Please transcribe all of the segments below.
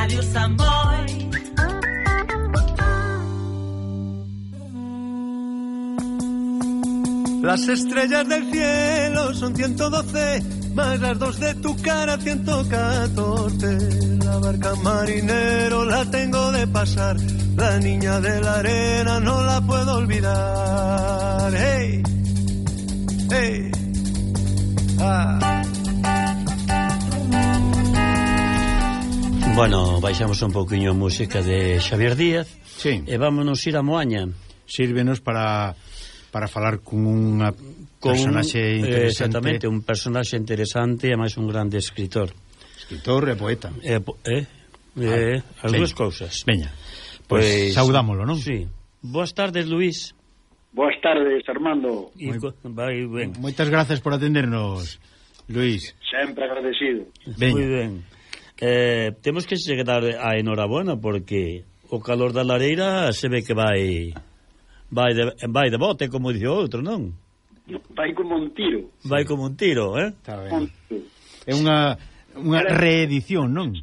Radio Samboy. Las estrellas del cielo son 112, más las dos de tu cara 114. La barca marinero la tengo de pasar, la niña de la arena no la puedo olvidar. Hey, hey, ah. Bueno, baixamos un pouquiño a música de Xavier Díaz. Sí. E vámonos ir a Moaña. Sírvenos para falar con unha personaxe interesante. Exactamente, un personaxe interesante e máis un grande escritor. Escritor e poeta. As dúas cousas. Veña, pois saudámolo, non? Sí. Boas tardes, Luís. Boas tardes, Armando. Vai ben. Moitas grazas por atendernos, Luís. Sempre agradecido. Moi ben. Temos que chegar a enhorabuena porque o calor da lareira se ve que vai de bote, como dice outro, non? Vai como un tiro. Vai como un tiro, Está ben. É unha reedición, non?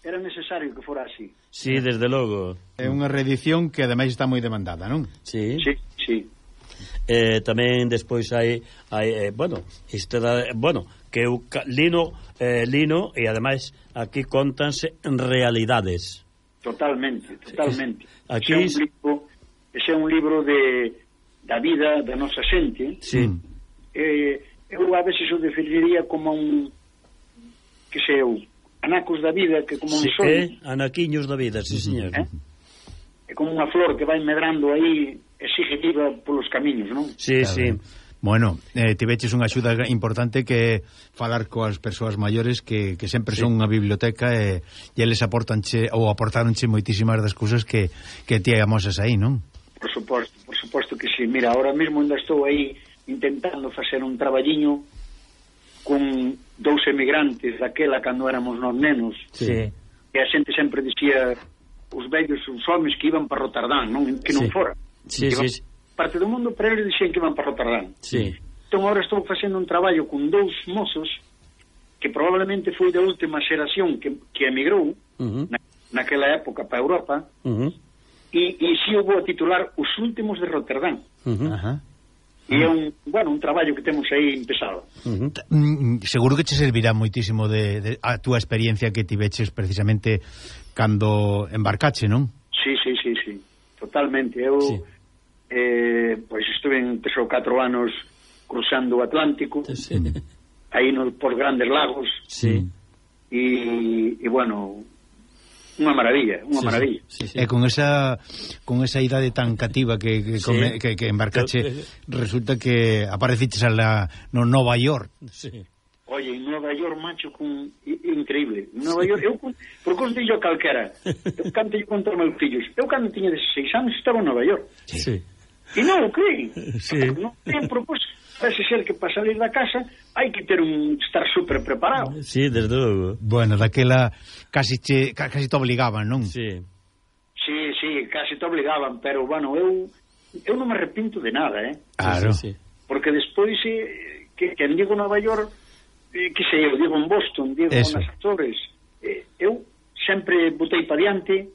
Era necesario que fora así. Sí, desde logo. É unha reedición que ademais está moi demandada, non? Sí. Sí. Tamén despois hai que eu Lino e ademais aquí contanse realidades. Totalmente. Aquí Ese é un libro da vida da nosa xente. Sí. Eu a veces o definiría como que sei anacos da vida, que como un sol. Anaquiños da vida, sí, señor. É como unha flor que vai medrando aí e sigue viva polos camiños, non? Sí, claro. sí. Bueno, tiveches unha axuda importante que falar coas persoas maiores que sempre son unha biblioteca e eles aportaronche moitísimas das cousas que ti amosas aí, non? Por suposto que sí. Mira, ahora mesmo ainda estou aí intentando facer un traballiño con dous emigrantes daquela cando éramos nos nenos. Sí. E a xente sempre dicía os vellos, os homes que iban para Rotterdam, non? Que non fora. Sí. Parte do mundo, pero eles dicían que iban para Rotterdam. Sí. Entón agora estou facendo un traballo con dous mozos que probablemente foi da última xeración que emigrou naquela época para Europa. E si eu vou a titular Os últimos de Rotterdam. E é un traballo que temos aí empezado. Seguro que che servirá moitísimo de a túa experiencia que tiveches precisamente cando embarcache, non? Sí. Totalmente. Eu pois estuve en 3 ou 4 anos cruzando o Atlántico, aí por grandes lagos. Sí. E bueno, unha maravilla. Sí. E con esa idade tan cativa que embarcache, resulta que apareciches no Nova York. Sí. Oye, en Nova York, macho, increíble. Nova York, por contillo calquera, eu cantello contra meus fillos. Eu cando tiña 16 anos estaba en Nova York. Sí. E non o creen. Sí. Non ten propósito. Parece ser que para salir da casa hai que estar super preparado. Sí, desde logo. Bueno, daquela casi te obligaban, non? Sí. Sí, casi te obligaban, pero bueno, eu non me arrepinto de nada, Claro. Sí. Porque despois que digo Nova York, que sei eu, digo en Boston, digo nas Azores, eu sempre botei para diante,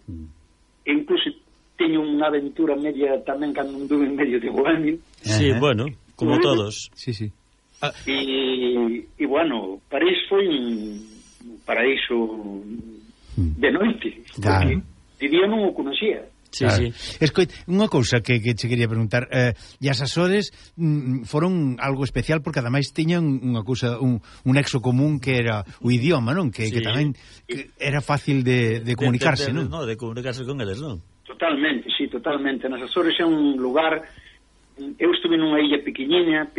e incluso teño unha aventura media tamén cando anduve en medio de Bohemia. Sí, bueno, como todos. Sí. E bueno, París foi un paraíso de noite, porque de día non o conocía. Sí. Escoita, unha cousa que che quería preguntar, e as Azores foron algo especial porque ademais tiñan unha cousa, un nexo común que era o idioma, non? Que tamén era fácil de comunicarse, non? De comunicarse con eles, non? Totalmente. Nas Azores é un lugar. Eu estuve nunha illa pequeniña,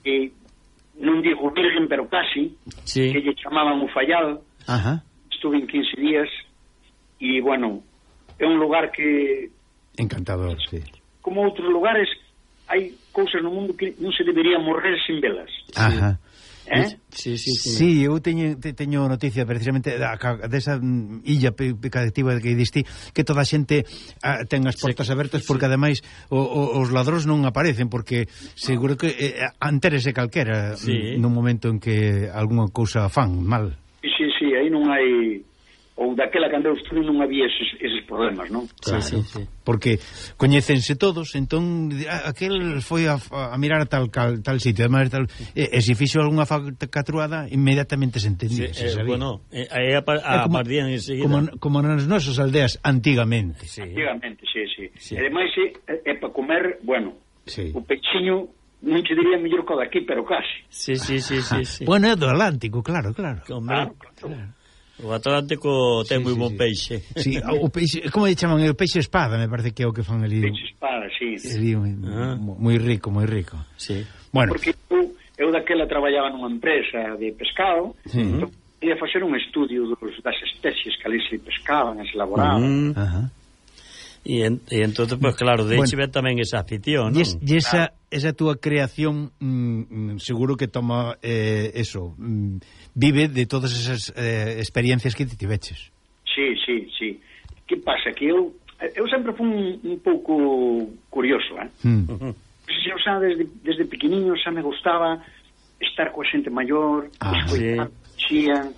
e non digo virgen, pero casi, que lle chamaban o Fallal. Estuve en 15 días e, bueno, é un lugar que... Encantador, sí. Como outros lugares, hai cousas no mundo que non se debería morrer sin velas. Sí, eu teño noticia precisamente desa illa pecativa que diste, que toda a xente ten as portas abertas porque ademais os ladróns non aparecen porque seguro que antérese calquera nun momento en que algunha cousa fan mal. Sí, aí non hai ou daquela cando eu estuve non había eses problemas, non? Claro, sí. Porque coñécense todos, entón aquel foi a mirar a tal sitio, además tal, e se fixo algunha falcatruada inmediatamente se entendía, se sabía. Bueno, aí apartían enseguida. Como nas nosas aldeas antigamente. Sí. Antigamente, sí. E ademais é para comer, bueno, o peixiño non te diría mellor que o daqui, pero casi. Sí. Bueno, é do Atlántico, claro. Claro. O Atlántico ten moi bon peixe. Sí, o peixe, como lle chaman? O peixe espada, me parece que é o que fan ali. Peixe espada, sí. Moi rico. Sí. Bueno. Porque eu daquela traballaba nunha empresa de pescado, entón ia facer un estudio das especies que ali se pescaban, se elaboraban. E entonces, pues claro, de hecho tamén esa afición, non? E esa túa creación seguro que toma eso, vive de todas esas experiencias que te tiveches. Sí. Que pasa? Que eu sempre fui un pouco curioso, Eu xa desde pequeniño xa me gustaba estar coa xente maior, escoitar, xían,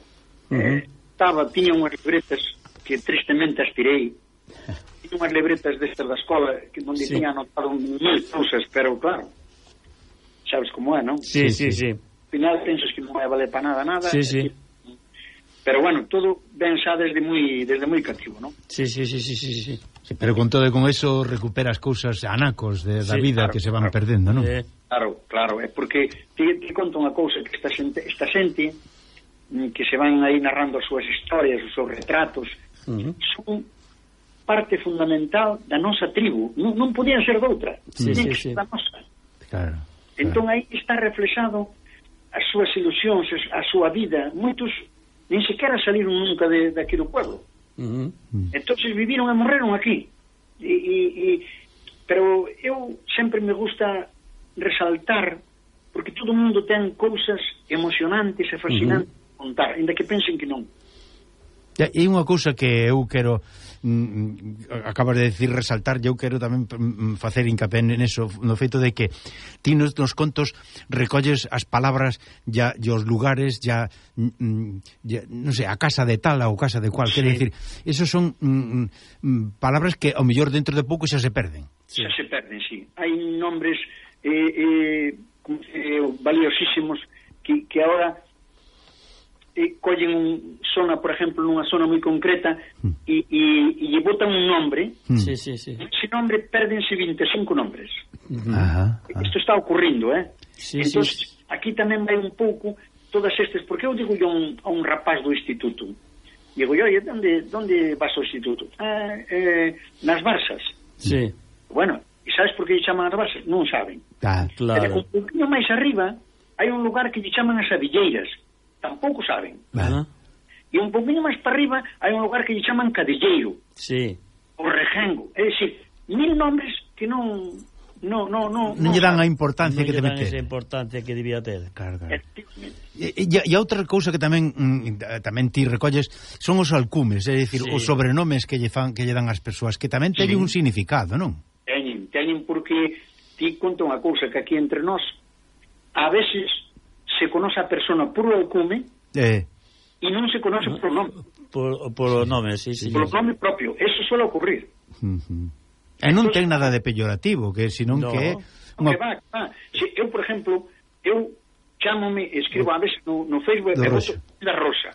tiña unhas libretas que tristemente aspirei, tiña unhas libretas destas da escola que onde tiña anotado 1000 cousas, pero claro, sabes como é, non? Sí. Al final pensas que non vai valer para nada. Sí. Pero bueno, todo ben xa desde moi cativo, non? Sí. Pero con todo e con eso recuperas cousas anacos da vida, claro, que se van perdendo, non? Claro, é porque te conto unha cousa, que esta xente que se van aí narrando as súas historias, os seus retratos, son parte fundamental da nosa tribu, non podían ser doutra, da nosa. Claro. Entón aí está reflexado as súas ilusións, a súa vida. Moitos nin sequera saliron nunca de aquí do pueblo. Entonces viviron e morreron aquí. Pero eu sempre me gusta resaltar, porque todo o mundo ten cousas emocionantes e fascinantes a contar, ainda que pensen que non. E unha cousa que eu quero acabas de decir resaltar, eu quero tamén facer hincapié neso, no feito de que ti nos contos recolles as palabras e os lugares non sei, a casa de tal ou casa de cual, quero dicir, esos son palabras que ao mellor dentro de pouco xa se perden. Xa se perden, sí. Hai nombres valiosísimos que ahora collen zona, por exemplo, nunha zona moi concreta e lle botan un nombre. Sí. Ese nombre perdense 25 nombres. Isto está ocurrindo, entón, aquí tamén vai un pouco todas estes, porque eu digo a un rapaz do instituto, digo, oye, onde vas ao instituto? Nas Barsas. Sí. Bueno, e sabes por que lle chaman as Barsas? Non saben. Claro. Pero un pouquinho máis arriba hai un lugar que lle chaman as Avilleiras, tampouco saben. E un poquinho máis para arriba hai un lugar que lle chaman Cadilleiro. Sí. O Rejengo. É dicir, 1000 nombres que non lle dan a importancia que debe ter. Non lle dan esa importancia que debía ter. Claro. E outra cousa que tamén ti recolles son os alcumes, é dicir, os sobrenomes que lle dan as persoas, que tamén teñen un significado, non? Teñen porque ti conta unha cousa que aquí entre nós a veces se conoce a persona por o alcume e non se conoce por o nome. Por o nome, sí. Por o nome propio. Eso suele ocurrir. E non ten nada de peyorativo, que senón que... Que va. Eu, por exemplo, escribo a veces no Facebook e voto da Rosa.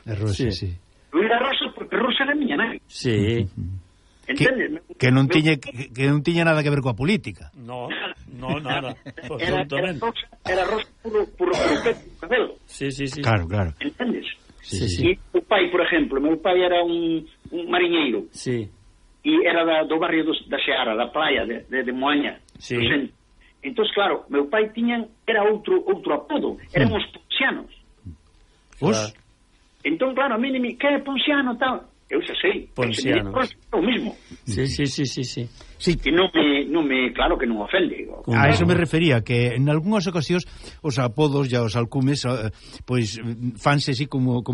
Luis da Rosa, porque Rosa era miña nai. Sí. Entendes? Que non tiña nada que ver coa política. No, nada. Era Rosa puro cabelo. Sí. Claro. Entendes? Sí. E o pai, por exemplo, meu pai era un mariñeiro. Sí. E era do barrio da Seara, da praia de Moaña. Sí. Entón, claro, meu pai era outro apodo. Éramos poncianos. Entón, claro, a mí que é ponciano, tal... Eu xa sei. Ponciano. É o mismo. Sí. Sí. E non me, claro que non ofende. A eso me refería, que en algunhas ocasións os apodos e os alcumes pois fanse así como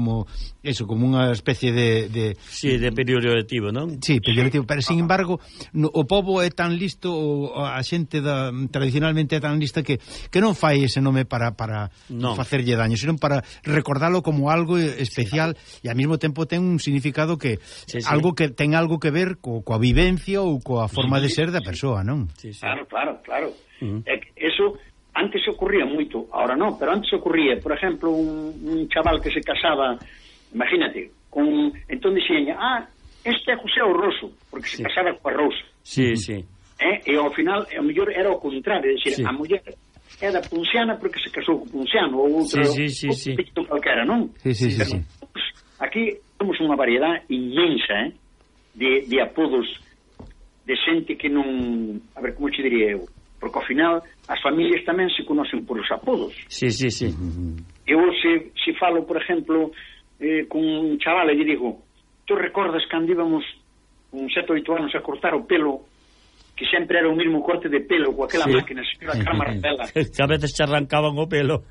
eso, como unha especie de Sí, de peyorativo, non? Sí, peyorativo, pero sin embargo o pobo é tan listo, a xente tradicionalmente é tan lista que non fai ese nome para facerlle daño, senón para recordalo como algo especial e ao mesmo tempo ten un significado que algo que ten algo que ver coa vivencia ou coa forma de ser da persoa, non? Sí. Claro. Eso antes ocurría moito, ahora non, pero antes ocurría, por exemplo, un chaval que se casaba, imagínate, entón dixen, este é José Roso, porque se casaba coa Rosa. Sí. E ao final, ao mellor era o contrario, dicir, a muller é da Punciana porque se casou co Punciano, ou outro pito calquera, non? Sí. Aquí temos unha variedade inmensa de apodos de xente que non... A ver, como te diría eu? Porque ao final as familias tamén se conocen por os apodos. Sí. Eu se falo, por exemplo, con un chaval e lle digo, tú recordas cando íbamos con 7 ou 8 anos a cortar o pelo, que sempre era o mesmo corte de pelo coa aquela máquina, señora Carma Ravela. Que a veces se arrancaban o pelo.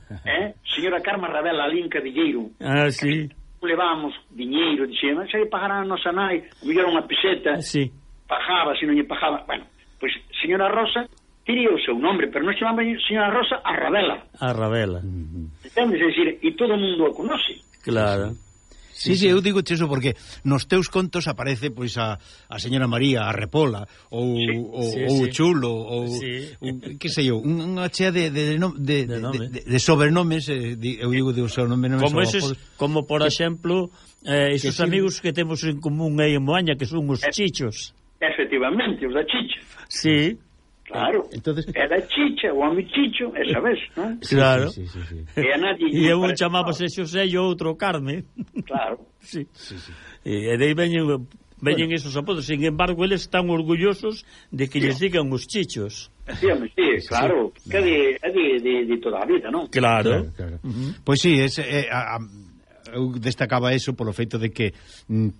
Señora Carma Ravela, a Linca Villeiro. Sí. Levábamos diñeiro, dixemos, xa lle pagarán a nosa nai, mellor unha peseta. Sí. Pajaba, se non lle pajaba. Bueno, pois señora Rosa tiría o seu nombre, pero non chamaba señora Rosa a Ravela. A Ravela. Entendes? É dicir, e todo o mundo a conoce. Claro. Sí, eu digo eso porque nos teus contos aparece pois a señora María, a Repola ou o Chulo ou que sei eu, unha chea de sobrenomes, eu digo de sobrenomes como por exemplo esos amigos que temos en común aí en Moaña, que son os chichos. Efectivamente, os da chicha. Sí. Claro, entonces, era chicha, o home chicho, esa vez, non? Claro. Sí. E un chamábase Xosé e outro Carme. Claro. Sí. E de aí veñen esos apodos. Sin embargo, eles están orgullosos de que lles digan os chichos. Sí, claro. Que é de toda a vida, non? Claro. Pois sí, eu destacaba eso polo feito de que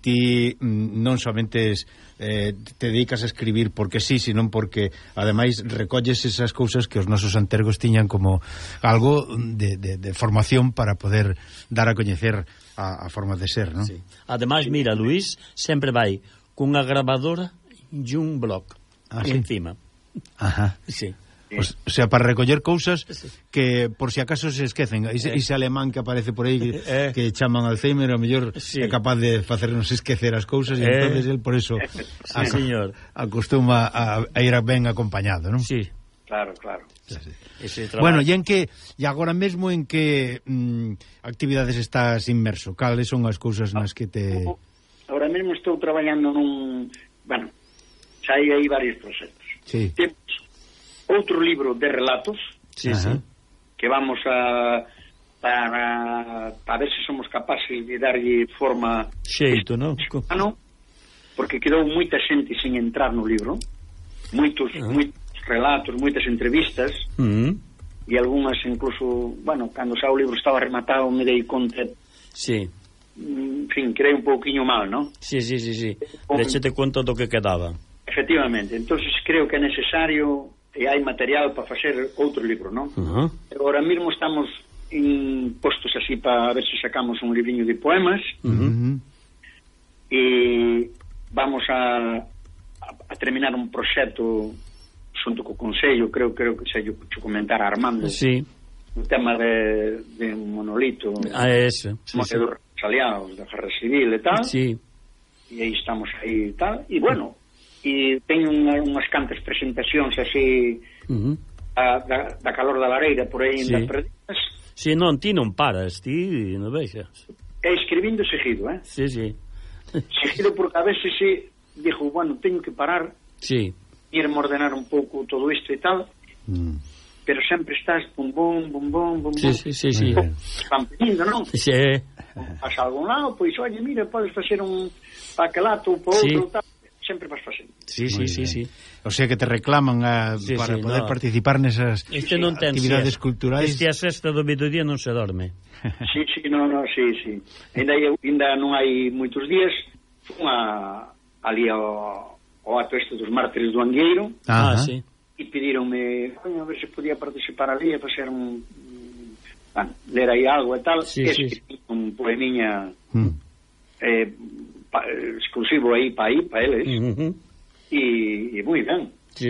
ti non somente te dedicas a escribir porque sí, senón porque ademais recolles esas cousas que os nosos antergos tiñan como algo de formación para poder dar a coñecer a forma de ser, non? Sí. Ademais, mira, Luís sempre vai cunha grabadora e un blog encima. Ajá. Sí. O sea, para recoller cousas que por si acaso se esquecen. Ese alemán que aparece por aí que chaman Alzheimer, a mellor é capaz de facernos esquecer as cousas e entonces el por eso señor, acostuma a ir ben acompañado, non? Sí. Claro. Bueno, e agora mesmo en que actividades estás inmerso? Cales son as cousas nas que te... Ahora mesmo estou traballando bueno, xa hai varios proxectos. Sí. Temos outro libro de relatos que vamos para ver se somos capaces de darlle forma xeito, non? Porque quedou moita xente sin entrar no libro, moitos relatos, moitas entrevistas e algunhas incluso, bueno, cando xa o libro estaba rematado me dei conta en fin, creei un pouquiño mal, non? Sí. Déchete conta do que quedaba. Efectivamente, entonces creo que é necesario e hai material para facer outro libro, non? Agora mesmo estamos postos así para ver se sacamos un libriño de poemas e vamos a terminar un proxecto xunto co Consello, creo que xa yo comentar a Armando un tema de un monolito ese dos aliados da Guerra Civil e tal e aí estamos aí e tal, e bueno, e teño unhas cantas presentacións así da calor da lareira por aí en das perdidas. Si, non, ti non paras, ti non vexas. E escribindo seguido, Sí. Seguido porque a veces dixo, bueno, teño que parar ir a ordenar un pouco todo isto e tal pero sempre estás bum. Sí. Están pedindo, non? Sí. Vas a algún lado, pois, oye, mira, podes facer un paquelato ou por outro tal. Sempre vas facendo. Sí. O sea que te reclaman para poder participar nesas actividades culturais. A sexta do mediodía non se dorme. Sí. Ainda non hai moitos días fun ali ao ao acto este dos mártires do Angueiro, sí. e pedironme, a ver se podía participar ali e facer ler aí algo e tal, escribí un poemiña exclusivo aí para eles, e moi ben. Sí.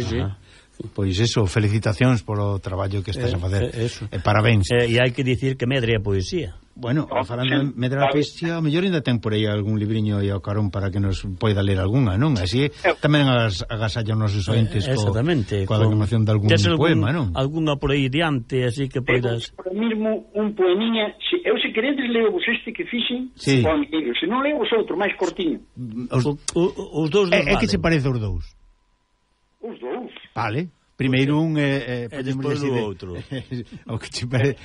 Pois eso, felicitacións polo traballo que estás a facer. E parabéns. E hai que dicir que medre a poesía. Bueno, falando de medre a poesía, a mellor ainda ten por aí algún libriño e ao carón para que nos poida ler algunha, non? Así tamén agasallan os nosos ointes coa declamación de algún poema, non? Algunha por aí diante, así que poidas... Por mesmo, un poemiña, eu se queredes leo vos este que fixen, se non leo vos outro, máis cortiño. Os dous é que se parece os dous? Os dous. Vale. Primeiro un despois o outro. O que te parece...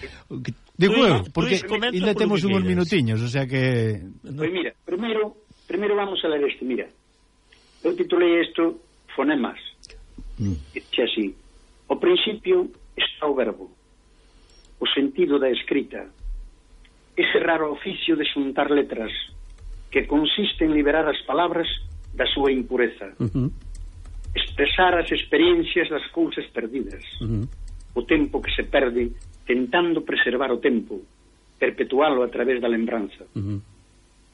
Digo eu, porque ainda temos uns minutiños, o sea que... Pois mira, primeiro vamos a ler este, mira. Eu titulei isto Fonemas. Dice así: ao principio está o verbo, o sentido da escrita, ese raro oficio de xuntar letras que consiste en liberar as palabras da súa impureza, expresar as experiencias das cousas perdidas, o tempo que se perde tentando preservar o tempo, perpetualo a través da lembranza,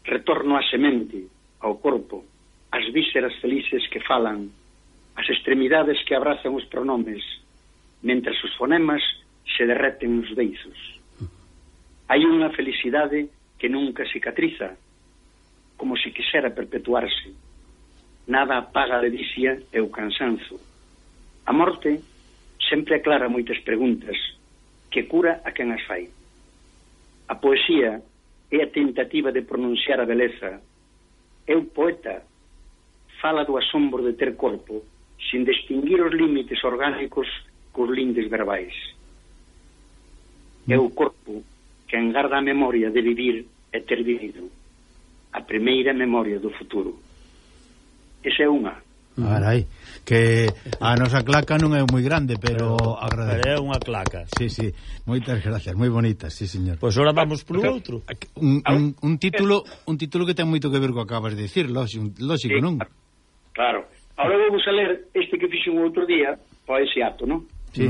retorno á semente, ao corpo, as vísceras felices que falan, as extremidades que abrazan os pronomes, mentres os fonemas se derreten nos beizos. Hai unha felicidade que nunca cicatriza, como se quixera perpetuarse. Nada apaga a ledicia e o cansanzo. A morte sempre aclara moitas preguntas, que cura a quen as fai. A poesía é a tentativa de pronunciar a beleza. É o poeta fala do asombro de ter corpo, sin distinguir os límites orgánicos cos lindes verbais. É o corpo que engarda a memoria de vivir e ter vivido, a primeira memoria do futuro. Esa é unha. Carai, que a nosa claca non é moi grande, pero agradece. Pero é unha claca. Sí, moitas gracias, moi bonitas, sí, señor. Pois ahora vamos polo outro. Un título que ten moito que ver co que acabas de dicir, lógico, non? Claro. Ahora vamos a ler este que fixo un outro día, para ese acto, non? Sí.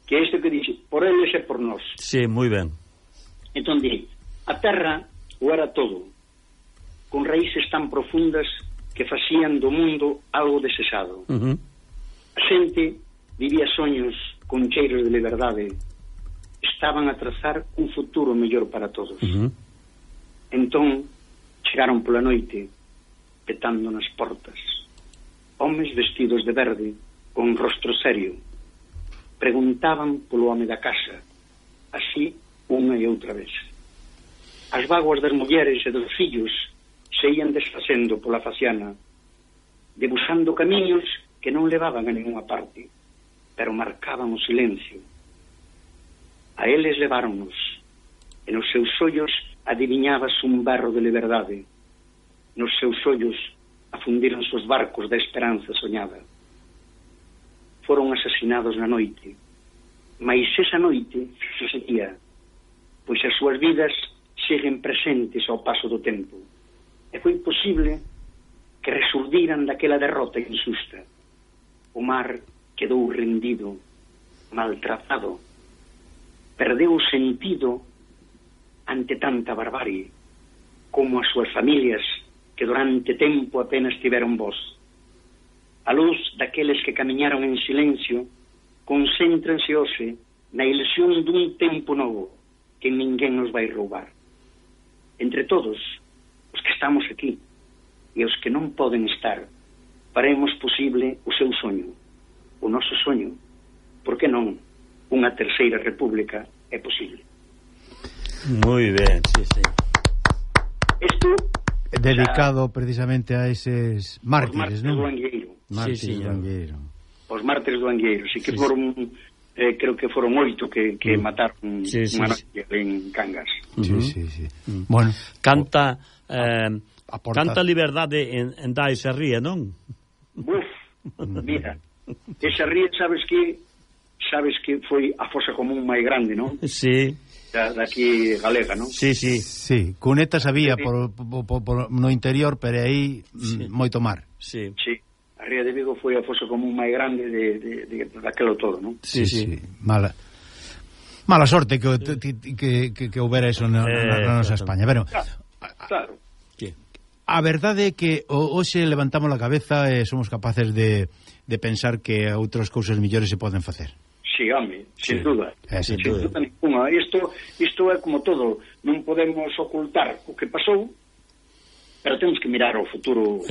Que este que dixe, por eles e por nós. Sí, moi ben. Entón di, a terra o era todo, con raíces tan profundas que facían do mundo algo desexado. A xente vivía soños con cheiros de liberdade, estaban a trazar un futuro mellor para todos. Entón chegaron pola noite petando nas portas homes vestidos de verde con rostro serio, preguntaban polo home da casa, así unha e outra vez. As vaguas das mulleres e dos fillos se ian desfacendo pola faciana, debuxando camiños que non levaban a ninguna parte, pero marcaban o silencio. A eles leváronnos, e nos seus ollos adiviñábase un berro de liberdade. Nos seus ollos afundíronse os barcos da esperanza soñada. Foron asasinados na noite, mais esa noite se seguía, pois as súas vidas seguen presentes ao paso do tempo. E foi posible que resurdiran daquela derrota injusta. O mar quedou rendido, maltratado, perdeu o sentido ante tanta barbarie, como as súas familias que durante tempo apenas tiveron voz. A luz daqueles que camiñaron en silencio concéntranse hoxe na ilusión dun tempo novo que ninguén nos vai roubar. Entre todos os que estamos aquí e os que non poden estar, faremos posible o seu soño, o noso soño. Por que non? Unha terceira república é posible. Moi ben, sí. Isto dedicado precisamente a eses mártires, non? Os mártires do Angueiro. Os mártires do Angueiro, si que foron creo que foron 8 que mataron unha noite en Cangas. Sí. Bueno, canta liberdade en da esa ría, non? Buf, mira, esa ría sabes que foi a fosa común máis grande, non? Sí. Daqui galega, non? Sí. cunetas había no interior, pero aí moito mar. Sí. Ría de Vigo foi a fosa común máis grande daquelo todo, non? Sí. Mala sorte que houbera eso na nosa España. Bueno, claro. A verdade é que hoxe levantamos a cabeza e somos capaces de pensar que outras cousas mellores se poden facer. Sí, home, sin duda. Sin duda ninguna. Isto é como todo, non podemos ocultar o que pasou, pero temos que mirar ao futuro.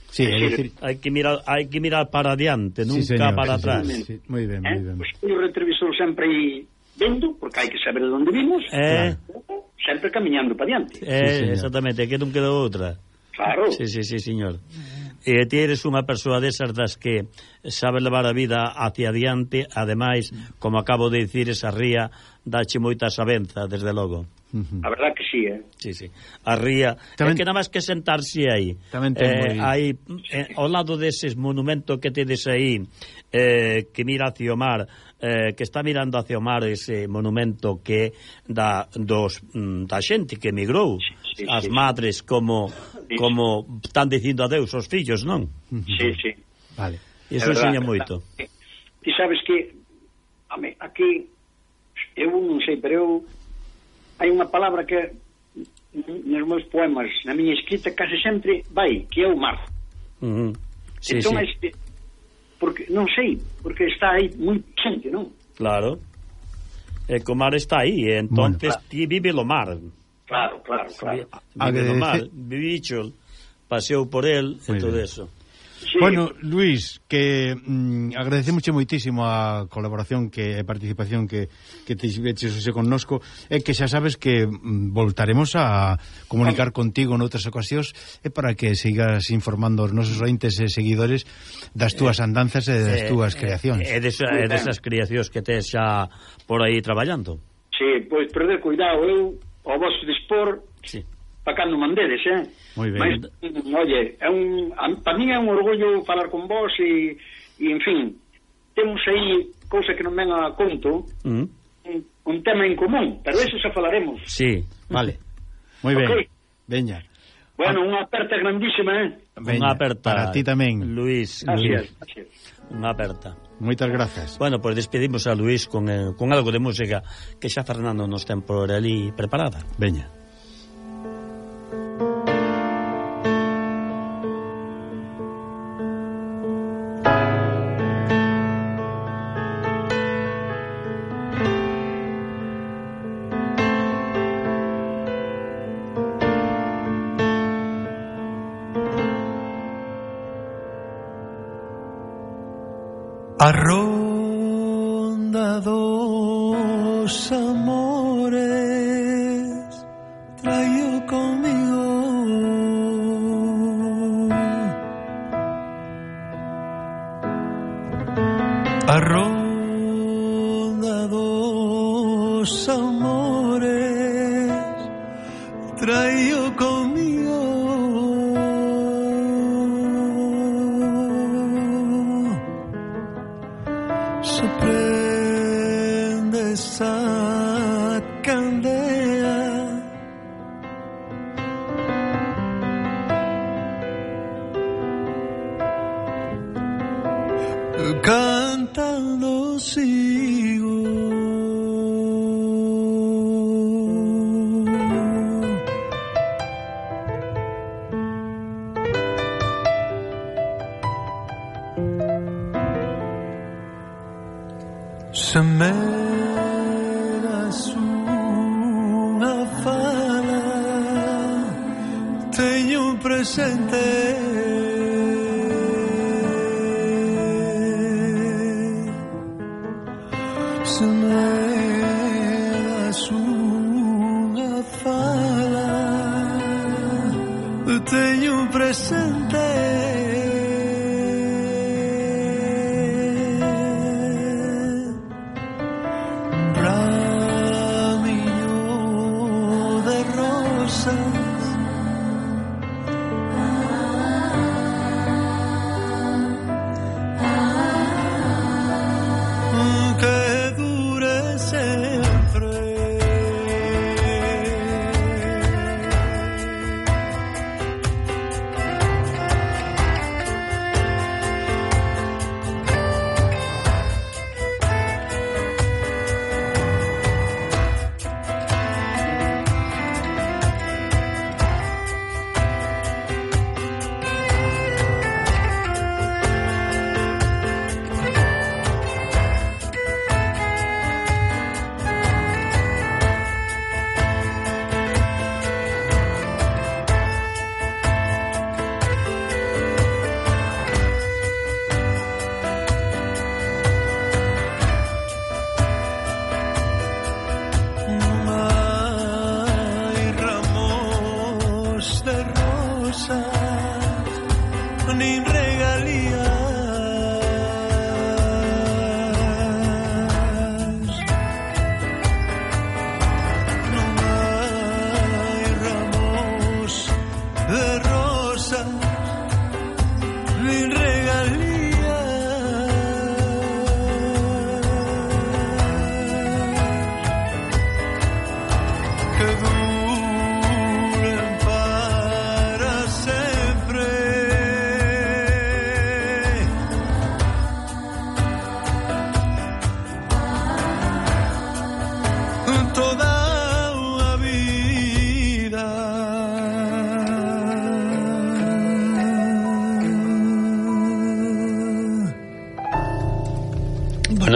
Sí, é decir, hai que mirar para adiante, nunca para atrás. Sí, moi ben, moi ben. Pois o retrovisor sempre aí vendo, porque hai que saber de onde vimos, sempre camiñando para adiante. Exactamente, que non queda outra. Claro. Sí, señor. E ti eres unha persoa desas das que sabe levar a vida hacia adiante, ademais, como acabo de dicir, esa ría dache moita sabenza, desde logo. A verdad que sí, Sí. A ría, tamén, é que nada máis que sentarse aí. Aí, ao lado deses monumentos que tedes aí, que mira hacia o mar, que está mirando hacia o mar ese monumento que da xente que emigrou, as madres como están dicindo adeus aos fillos, non? Sí. Vale. Iso enseña moito. Ti sabes que aquí eu non sei, pero eu hai unha palabra que nos meus poemas, na miña escrita, case sempre vai, que é o mar. Entón, porque non sei, porque está aí moi presente, non? Claro. E que o mar está aí, entonces ti vive o mar. Claro. Vive o mar, vivicho, paseo por el e todo eso. Sí. Bueno, Luis, que agradecemos moitísimo a colaboración e participación que tiveches hoxe connosco, e que xa sabes que voltaremos a comunicar contigo noutras ocasións e para que sigas informando os nosos ointes e seguidores das túas andanzas e das túas creacións. E desas creacións que tes xa por aí traballando. Sí, pois perder cuidado, eu ao vosso dispor, para cando mandedes, Moi ben. Mas, oye, para mí é un orgullo falar con vos e en fin, temos aí cousa que non ven a conto, un tema en común, pero eso xa falaremos. Sí, vale. Moi ben. Veña. Bueno, unha aperta grandísima, Unha aperta. Para ti tamén, Luis. Gracias. Unha aperta. Moitas grazas. Bueno, pues despedimos a Luis con algo de música que xa Fernando nos ten por ali preparada. Veña. A ronda dos amores traio comigo a ronda dos amores traio comigo prende esa candela cantando sigo se me das unha fala teño presente se me das unha fala teño presente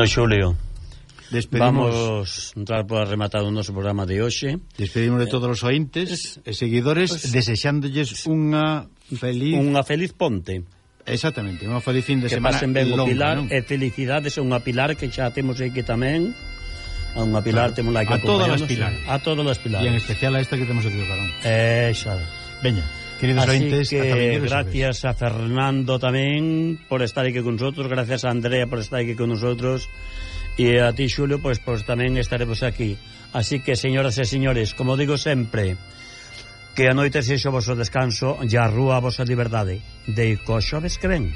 Bueno, Xulio, vamos entrar por rematar o noso programa de hoxe. Despedimos de todos os ointes e seguidores, desexándolles unha feliz ponte. Exactamente, unha feliz fin de semana. Que pasen ben o Pilar, e felicidades a unha Pilar que xa temos aquí tamén. A unha Pilar temos aquí a todas as Pilares. A todas as Pilares. E en especial a esta que temos aquí o carón. Xa. Veña, queridos ointes, gracias a Fernando tamén por estar aquí con nosotros, gracias a Andrea por estar aquí con nosotros, e a ti, Xulio, pues tamén estaremos aquí. Así que, señoras e señores, como digo sempre, que a noite sexa o vosso descanso e a rúa a vosa liberdade. De coxoves que ven.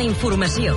Informació.